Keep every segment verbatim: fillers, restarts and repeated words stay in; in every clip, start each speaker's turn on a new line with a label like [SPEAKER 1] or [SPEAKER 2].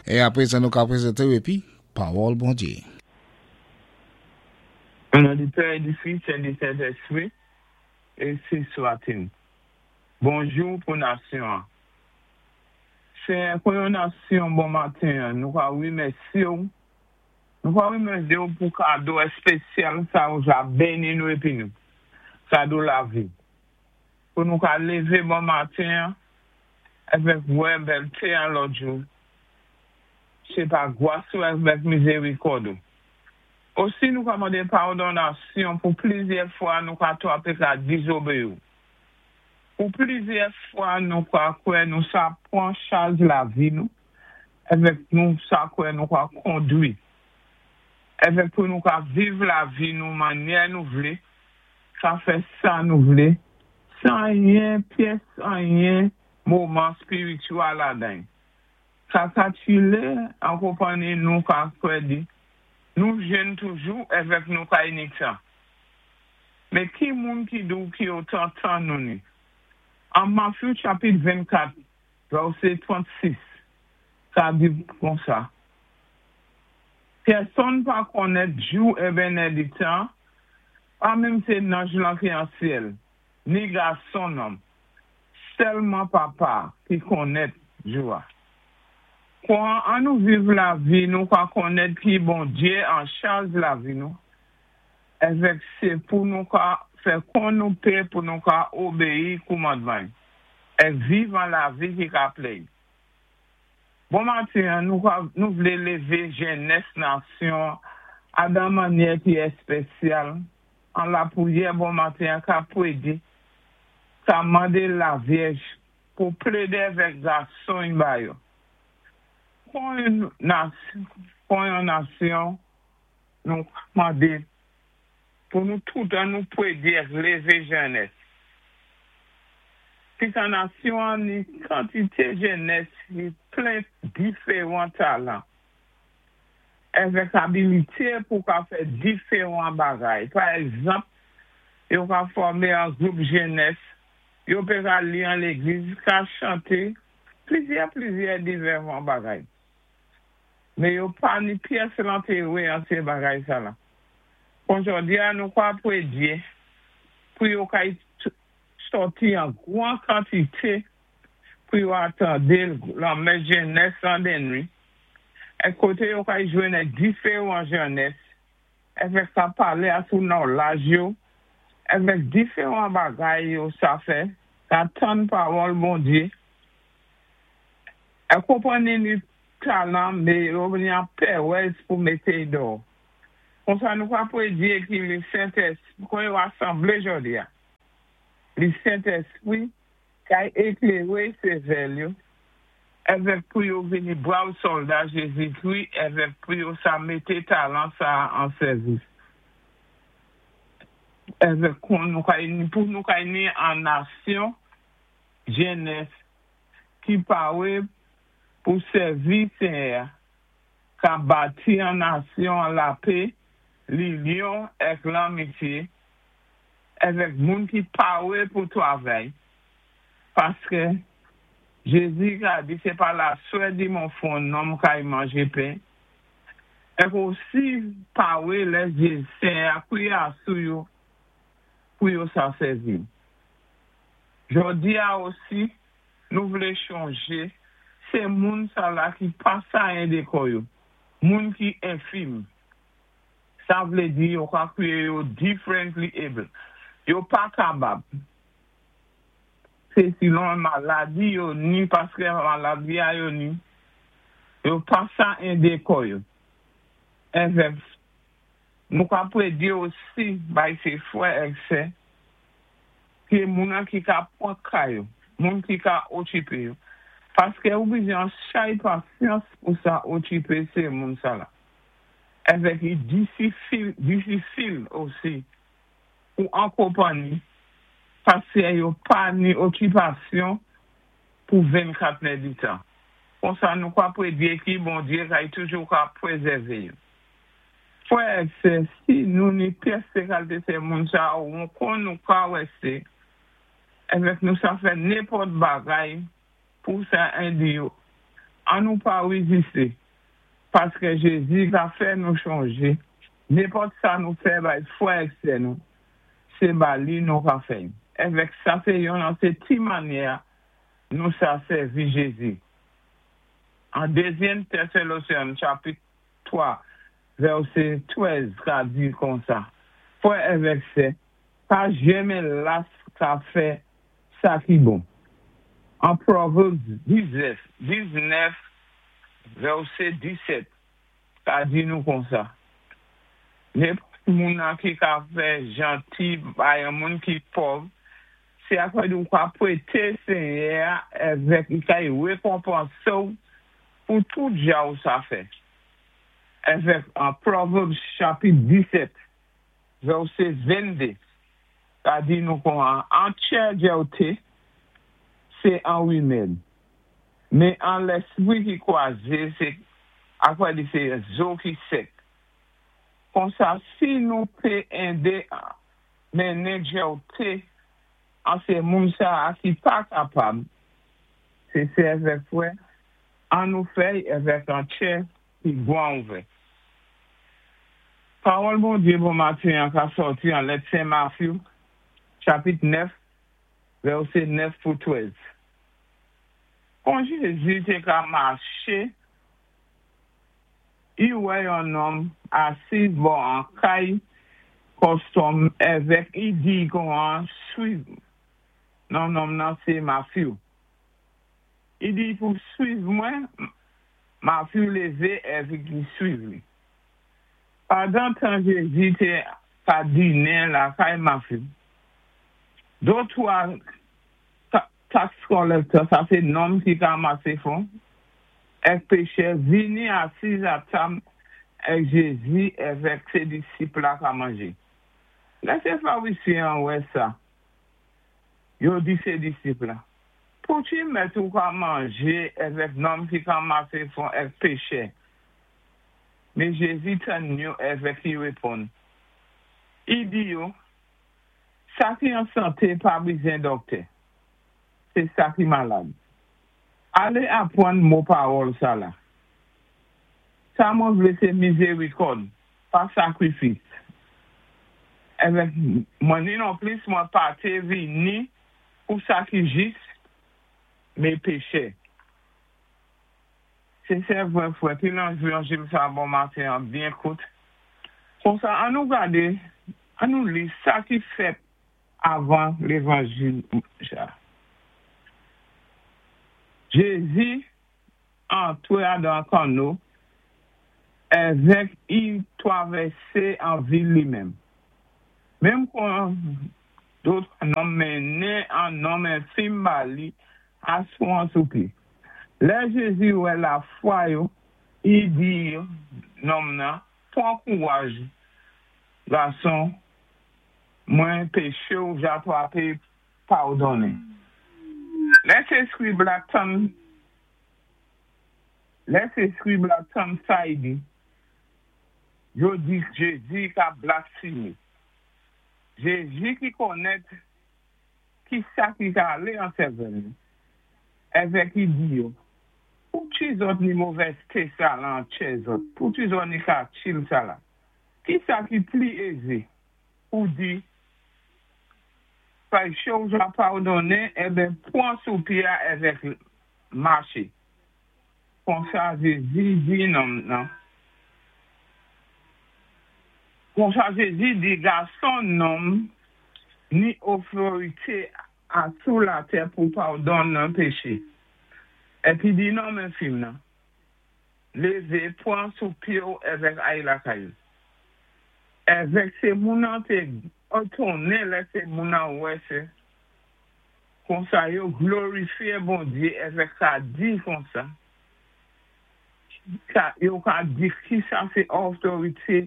[SPEAKER 1] É apwé sa nou ka pwézanté épi Pawòl Bondyé.
[SPEAKER 2] An non di Pè, di Fis é di Sentèspwi, énsi swa-t-il. Bonjou pou nasyon. Sé kon yon nasyon bon maten, nou ka wimèsyé ou. Nou ka wimèsyé ou pou kado èspésyal sa ou ja béni nou épi nou. Kado lavi. Pou nou ka lévé bon maten, avèk wè bèlté an lòt jou. Sé pa gwas ou avèk mizérikòd ou. Osi nou ka mandé padon nasyon pou plizyè fwa nou ka twapé ka dizobéyi ou. Pou plizyè fwa nou ka kwè nou sa pwan chaj lavi nou, avèk nou sa kwè nou ka kondwi. Avèk pou nou ka viv lavi nou mannyè nou vlé, ka fè sa nou vlé, san anyen pyès anyen moman èspirityèl ladan. Ka katchilé an konpanni nou ka kwè di, nou jèn toujou avèk nou ka ni tan. Mé ki moun ki di ou ki otan tan nou ni? An Matthew chapit vennkat, vèsé trannsis, sa di kon sa. Pèsonn pa konnèt jou èben lè di tan, pa menm sé zanj lan ki an syèl, ni Gason Lòm, sèlman Papa ki konnèt jou-a. Kon an nou viv lavi nou ka konnèt ki Bondyé an chaj lavi nou, avèk sé pou nou ka fè kon nou pé pou nou ka obéyi kòmandman, é viv an lavi ki ka plè. Bon maten, nou, nou vlé lévé jènès nasyon a dan mannyè ki èspésyal, an lapwiyè bon maten ka pwédé, ka mandé Lavyèj pou plédé avèk gason ba yo. Kon yon nasyon, kon yon nasyon, nou mandé pou nou tout an nou pwédé lévé jènès. Pis an nasyon an ni kantité jènès ki plen diferan talan. Avèk abilité pou ka fè diferan bagay. Pa egzanp, yo ka fòmé an gwoup jènès, yo pé ka li an légliz, ka chanté, plizyè plizyè diferan bagay. Mé yo pa ni pyès lentéwé an sé bagay sa la. Kon jòdi-a nou ka pwédyé pou yo kay sòti an gwan kantité pou yo atandé lan mès jènès an denwi. É koté yo kay jwenn diferan jènès, avèk sa palé asou nan laj yo, avèk diferan bagay yo sa fè, ka tann pawòl Bondyé. É konpanni ni talan, mé yo ni an pèwèz pou mété dò. Kon sa nou ka pwédyé ki le Sentèspwi, kon yo asanblé jòdi-a, le Sentèspwi kay ékléwé sèvèl yo, avèk pou yo vini brav sòlda Jézikwi, avèk pou yo sa mété talan sa an sèvis. Avèk kon nou kay ni, pou nou kay ni an nasyon jènès ki pawé pou sèvi Senyè, ka bati an nasyon an lapè, linyon èk lanmityé, avèk moun ki pawé pou twavay. Paské Jézi ka di sé pa laswè di mon fwon nonm kay manjé pen. Èk osi pawé lè Senyè a kwiyé asou yo pou yo sa sèvi. Jòdi-a osi, nou vlé chonjé, sé moun sa la ki pa sa édé kò yo, moun ki enfim. Sa vlé di yo ka kwiyé yo differently able. Yo pa kabab. Sé silon maladi yo ni, paské maladi a yo ni, yo pa sa édé kò yo. Èvèk, nou ka pwédyé osi bay sé fwè èk sè, ki moun an ki ka pwan ka yo, moun ki ka okipé yo. Paské ou bizwen chay pasyans pou sa okipé sé moun sa la. Avèk yi difisil, difisil osi pou an konpanni, paské yo pa ni okipasyon pou vennkat lè di tan. Kon sa nou ka pwédyé ki Bondyé kay toujou ka pwézèvé yo. Fwè èk sè, si nou ni pyès sé kalté sé moun sa ou kon nou ka wè sé, avèk nou sa fè nenpòt bagay pou sa édé yo. An nou pa wézisté, paské Jézi ka fè nou chanjé. Nenpòt sa nou fè bay fwè ak sè nou, sé ba li nou ka fè. Avèk sa sé yon an sé ti mannyè nou sa sèvi Jézi. An dézyèm Tésalonisyen chapit twa vèsé trèz ka di kon sa: "Fwè avèk sè, pa janmen las ka fè sa ki bon." An Proverbs diznèf, vèsé disèt ka di nou kon sa: "Nenpòt moun an ki ka fè janti bay yon moun ki pòv, sé akò nou ka pwété Senyè avèk i ka wékonpansé ou pou tout ja ou sa fè." Avèk an Proverbs chapit disèt, vèsé venndé, ka di nou kon an, "An tchè djèwté, sé an wimèd. Men an léspwi ki kwazé, sé akwa di sé zo ki sèk." Kon sa, si nou pé édé mennen djèwté an sé moun sa a ki pa kapab, sé sè avèk fwè, an nou fè'y avèk an tchè ki gwan ouvè. Pawòl Bondyé bon maten an ka sòti an lèt Sen Matthew, chapit nèf, vèsé nèf pou trèz. Kon Jézi té ka maché, i wè yon nonm asi bò an kay kòstòm avèk i di kon an "Swiv." Non nonm nan sé Matthew. I di pou "Swiv mwen", Matthew lévé avèk li swiv li. Pandan tan Jézi té ka dinen lakay Matthew, dotwa tax collector, sa sé nonm ki ka masé fon, èk péchè vini asiz a tab èk Jézi avèk sé disip la ka manjé. Lè sé Farizyen wè sa, yo di sé disip la: "Pouki mèt ou ka manjé avèk nonm ki ka masé fon èk péchè?" Men Jézi tann yo avèk i wéponn. I di yo: "Sa ki an santé pa bizwen dòktè, sé sa ki malad. Alé apwann mo pawòl sa la: 'Sa mwen vlé sé mizérikòd, pa sakrifis. Avèk mwen ni non plis mwen pa té vini pou sa ki jis, men péchè." Sé sè vwè fwè, ki lan levanjil sa bon maten an byen kout. Kon sa, an nou gadé, an nou li sa ki fèt avan lévanjil sa. Jézi antwé adan kanno, avèk i twavèsé an vil li menm. Menm kon dòt nonm mennen an nonm enfim ba li asou an sou pye. Lè Jézi wè lafwa yo, i di nonm nan: "Pwan kouwaj, gason, mwen péché ou ja twapé padonnen." Lè sé skrib la tann, lè sé skrib la tann sa i di, yo di Jézi ka blasfémé. Jézi ki konnèt ki sa ki ka alé an sèvèl, avèk i di yo: "Pouki zòt ni movèzté sa lan tchè zòt, pouki zòt ni kalkil sa la? Ki sa ki pli ézé pou di, 'Péché ou ja padonnen,' eben pwan sou pyé avèk maché?" Kon sa Jézi di nonm nan. Kon sa Jézi di gason nonm ni otorité asou latè pou padonnen péché. Épi di nonm enfim nan: "Lévé, pwan sou pyé ou avèk ay lakay ou." Avèk sé moun an té étonnen lè sé moun an wè sé. Kon sa yo glorifyé Bondyé avèk sa di kon sa. Ka, yo ka di ki sa sé otorité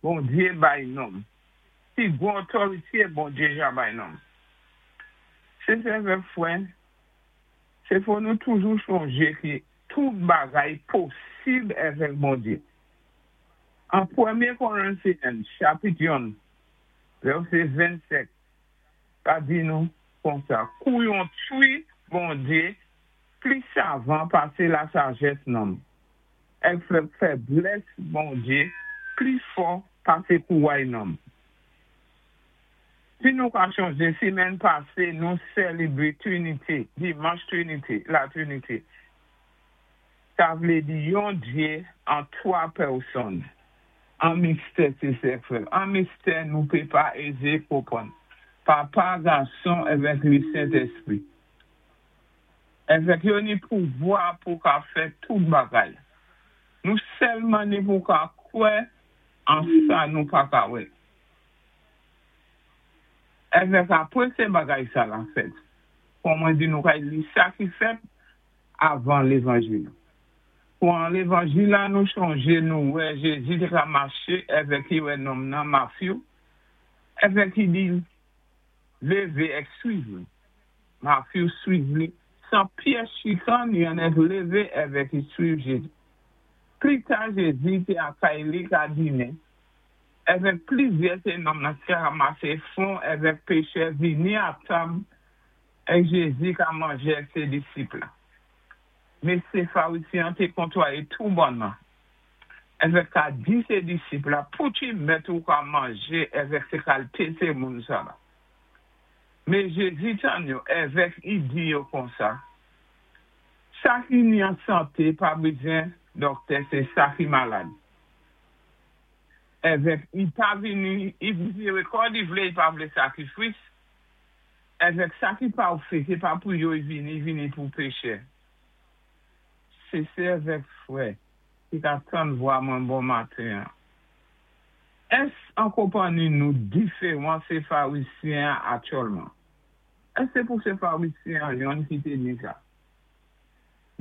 [SPEAKER 2] Bondyé bay nonm. Ki gwo otorité Bondyé ja bay nonm. Sé sè vè fwè, sé fò nou toujou chonjé ki tout bagay posib avèk Bondyé. An Pwémyé Korentyen, chapit youn, vèsé vennsèt, ka di nou kon sa: "Kou yon twi Bondyé Pli savan pasé lasajès nonm. Èk fèblès Bondyé pli fò pasé kouway nonm. Si nou ka chonjé, simenn pasé, nou sélébwé Twinité, dimanch Twinité, la Twinité. Sa vlé di yon Dyé an twa pèsonn. An mistè sé sè frè. An mistè nou pé pa ézé konpwann. Papa, Gason, avèk li Sentèspwi. Avèk yo ni pouvwa pou ka fè tout bagay. Nou sèlman ni pou ka kwè an sa nou pa ka wè. Avèk apwé sé bagay sa la fèt. Kon mwen di nou kay li sa ki fèt avan lévanjil. Kon lévanjil la nou chonjé nou wè Jézi té ka maché avèk i wè nonm nan Matthew, avèk i di lévé èk swiv li. Matthew swiv li san pyès chikann yon èk lévé avèk i swiv Jézi. Pli ta Jézi té a kay li ka dinen. Avèk plizyè sé nonm nan ki ranmasé fon avèk péchè vini a tab èk Jézi ka manjé avèk sé disip la. Mé sé Farizyen té kontwayé tou bonnman. Avèk ka di sé disip la, pouki mèt ou ka manjé avèk sé kalité sé moun sa la. Mé Jézi tann yo avèk i di yo konsa. Sa ki ni an santé pa bizwen dòktè, sé sa ki malad. Avèk i pa vini, i mizérikòd i vlé, i pa vlé sakrifis. Avèk sa ki pafè, sé pa pou yo i vini, i vini pou péchè. Sé sè avèk frè ki ka tann vwa mwen bon maten. Ès an konpanni nou diféwan sé Farizyen aktyèlman? Ès sé pou sé Farizyen yon ki té ni sa?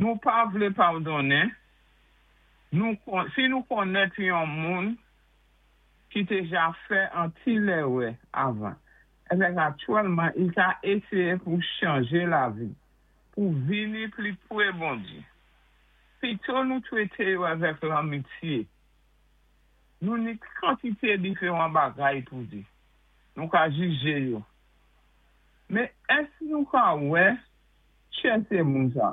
[SPEAKER 2] Nou pa vlé padonnen, nou, si nou konnèt yon moun ki té ja fè an ti lérè avan, avèk aktyèlman, i ka éséyé pou chanjé lavi, pou vini pli pwé Bondyé. Pito nou twété yo avèk lanmityé. Nou ni kantité diféwan bagay pou di. Nou ka jijé yo. Mé ès nou ka wè chè sé moun sa?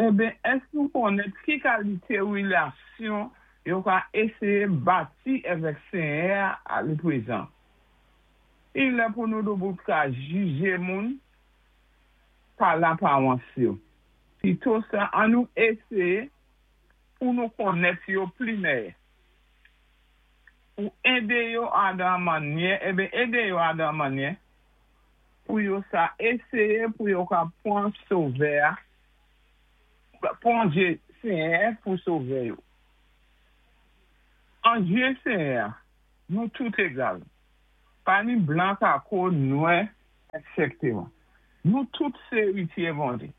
[SPEAKER 2] Eben, ès nou konnèt ki kalité wélasyon yo ka éséyé bati avèk Senyè a le pwézan? I lè pou nou doubout ka jijé moun pa lapawans yo. Pito sa, an nou éséyé pou nou konnèt yo pli mèyè. Pou édé yo a dan mannyè, eben édé yo a dan mannyè, pou yo sa éséyé pou yo ka pwan sovè, pwan Djé Senyè pou sovè yo. An Djé Senyè, nou tout égal. Pa ni blan kako, nwè, et cetera. Nou tout sé éwityé Bondyé.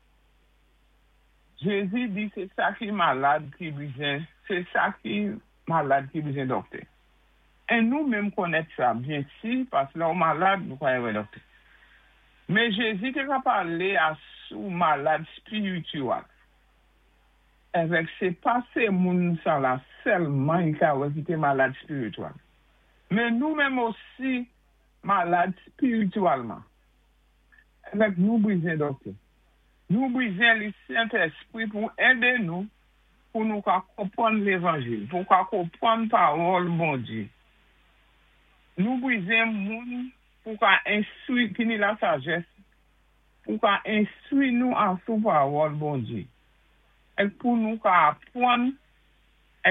[SPEAKER 2] Jézi di sé sa ki malad ki bizwen, sé sa ki malad ki bizwen dòktè. É nou menm konnèt sa, byen si, paski lè ou malad, nou ka wè dòktè. Mé Jézi té ka palé a sou malad espirityèl. Avèk sé pa sé moun sa la sèlman i ka wè ki té malad espirityèl. Mé nou menm osi malad espirityèlman. Avèk nou bizwen dòktè. Nou bizwen li Sentèspwi pou édé nou pou nou ka konpwann lévanjil, pou ka konpwann pawòl Bondyé. Nou bizwen moun pou ka enstwi, ki ni lasajès, pou ka enstwi nou a sou pawòl Bondyé. Èk pou nou ka apwann,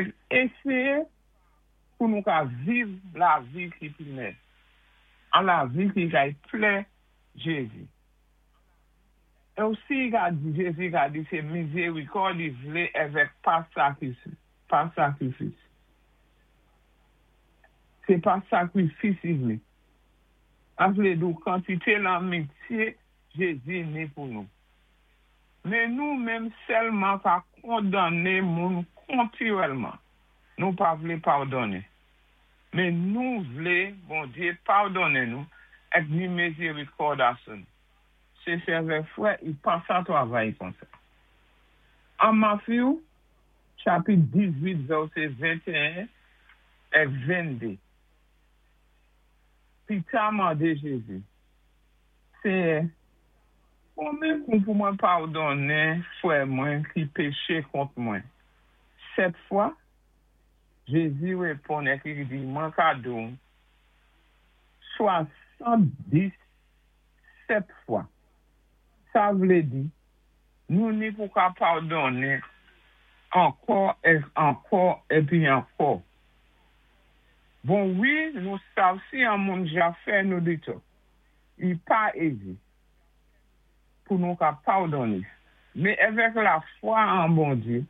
[SPEAKER 2] èk éséyé pou nou ka viv lavi ki pi mèyè. An lavi ki kay plè Jézi. É osi ka di, Jézi ka di sé mizérikòd i vlé avèk pa sakrifis. Pa sakrifis. Sé pa sakrifis i vlé. A vlé dou kantité lanmityé Jézi ni pou nou. Mé nou menm sèlman ka kondanné moun kontinyèlman. Nou pa vlé padonnen. Mé nou vlé, Bondyé, padonnen nou èk ni mizérikòd asou nou. Sé sè avèk frè, i pa sa twavay konsa. An Matthew, chapit dizuit, vèsé ventéen èk venndé. Pita mandé Jézi, Senyè, Konbyen kou pou mwen padonnen fwè mwen ki péché kont mwen? Sèt fwa? Jézi wéponn épi li di, mwen ka di-w, swasann-dis sèt fwa. Sa vlé di, nou ni pou ka padonnen ankò é ankò épi ankò. Bon wi, nou sav si yon moun ja fè nou ditò. I pa ézi pou nou ka padonnen. Mé avèk lafwa an Bondyé,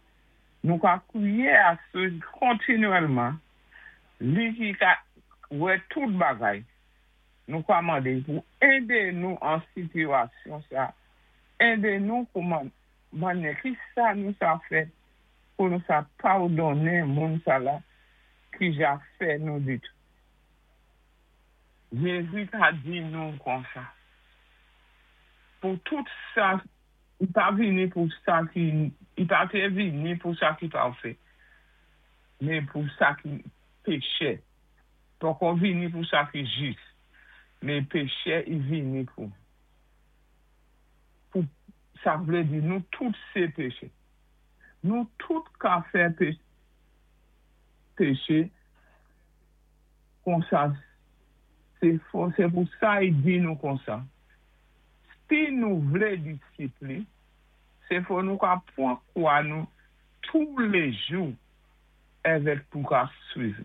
[SPEAKER 2] nou ka kwiyé a sé kontinyèlman, li ki ka wè tout bagay. Nou ka mandé pou édé nou an sitiyasyon sa, édé nou pou mandé ki sa nou sa fè pou nou sa padonnen moun sa la ki ja fè nou ditò. Jézi ka di nou konsa. Pou tout sa, i pa vini pou sa ki, i pa té vini pou sa ki pafè, mé pou sa ki péchè. Poko vini pou sa ki jis, mé péchè i vini pou. Pou sa vlé di nou tout sé péchè. Nou tout ka fè péché konsa, sé pou sa i di nou konsa. Si nou vlé disip li, sé fò nou ka pwan kwa nou toulé jou avèk pou ka swiv.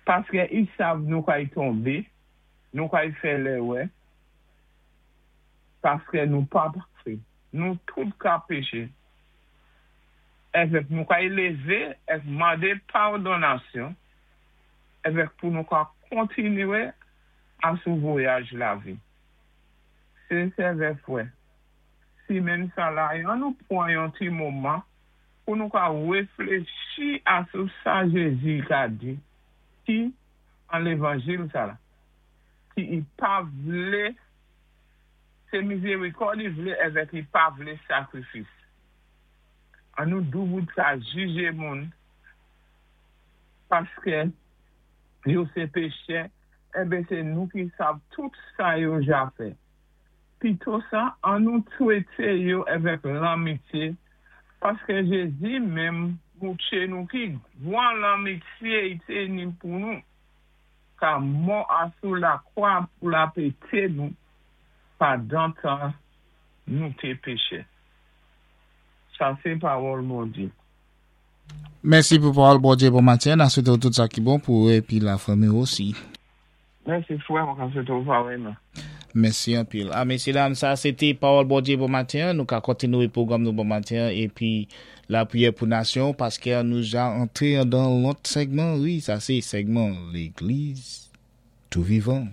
[SPEAKER 2] Paské i sav nou kay tonbé, nou kay fè lérè, paské nou pa pafè. Nou tout ka péché. Avèk nou kay lévé, èk mandé padonasyon, avèk pou nou ka kontinyé asou vwayaj lavi. Sé sè frè. Simenn sa la, an nou pwan yon ti moman pou nou ka wéfléchi asou sa Jézi ka di, ki an lévanjil sa la, ki i pa vlé, sé mizérikòd i vlé avèk i pa vlé sakrifis. An nou doubout ka jijé moun, paské yo sé péchè, enben sé nou ki sav tout sa yo ja fè. Pito sa, an nou twété yo avèk lanmityé, paské Jézi menm moutwé nou ki gwan lanmityé i té ni pou nou, ka mò asou lakwa pou lapété nou, pandan tan nou té péchè. Sa sé pawòl Bondyé.
[SPEAKER 1] Mèsi pou pawòl Bondyé bon maten. N ap swété tout sa ki bon pou ou épi lafanmi osi.
[SPEAKER 2] Mèsi fwè, mwen ka swété ou parèyman.
[SPEAKER 1] Mèsi anpil. A mésyé dam, sa sé té pawòl Bondyé bon maten. Nou ka kontinyé pwogram nou bon maten épi lapriyè pou nasyon paské nou ja antré dan lòt segman. Wi, sa sé segman légliz tou vivan.